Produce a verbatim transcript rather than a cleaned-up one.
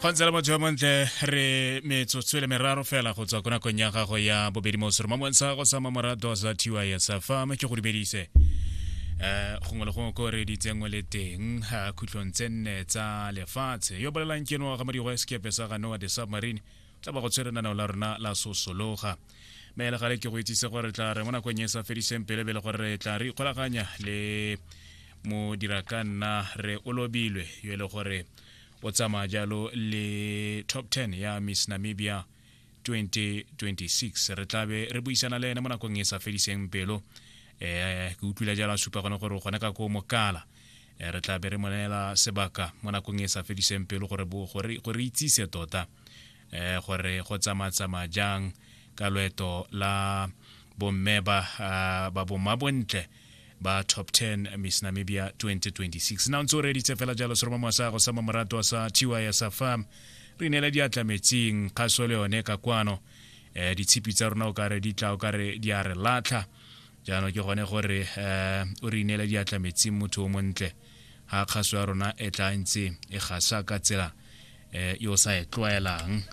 Go ntse le motho yo montle, re metsotso e le meraro fela go tswa ko nakong ya gago ya bobedi mo seromamong sa gago sa mamorato sa T Y S Farm. Ke go dumedise um gongwe le gongwe ko re ditsengwe le teng eh, khutlong tse nne tsa lefatshe. Yo bolelang ke no ga modigo sekepe sa ga Noah the Submarine, tla ba go tshwere nanao la rona la Sosologa. Mme le gale ke go itsise gore tla re mo nakong e sa fediseng pele pele gore re tla re ikgolaganya le modira ka nna re olobilwe yo e le gore o tsamaya jalo le top ten ya Miss Namibia twenty twenty-six. Re tlabe re buisana le ene mo nakong e sa fediseng pelo. um ke utlwile jalo a supa gone gore o gone ka ko mokala. Eh, re tlabe re mo neela sebaka mo nakong e sa fediseng pelo gore bo- gore gore itsise tota um gore go tsamaya-tsamaya jang ka loeto la bomme ba ah, ba bomma bontle ba top ten Miss Namibia twenty twenty-six. Na o ntse o reditse fela jalo seromamo sa go sa mamorato sa T Y S Farm, re neela diatla metsing kgaso le yone ka kwano. um ditshipi tsa rona o kare di tla o kare di a re latlha. Jaanong ke gone gore um o re ineele diatla metsing, motho o montle, ga kgaso ya rona e tla ntse e gasa ka tsela um yo o sa e tlwaelang.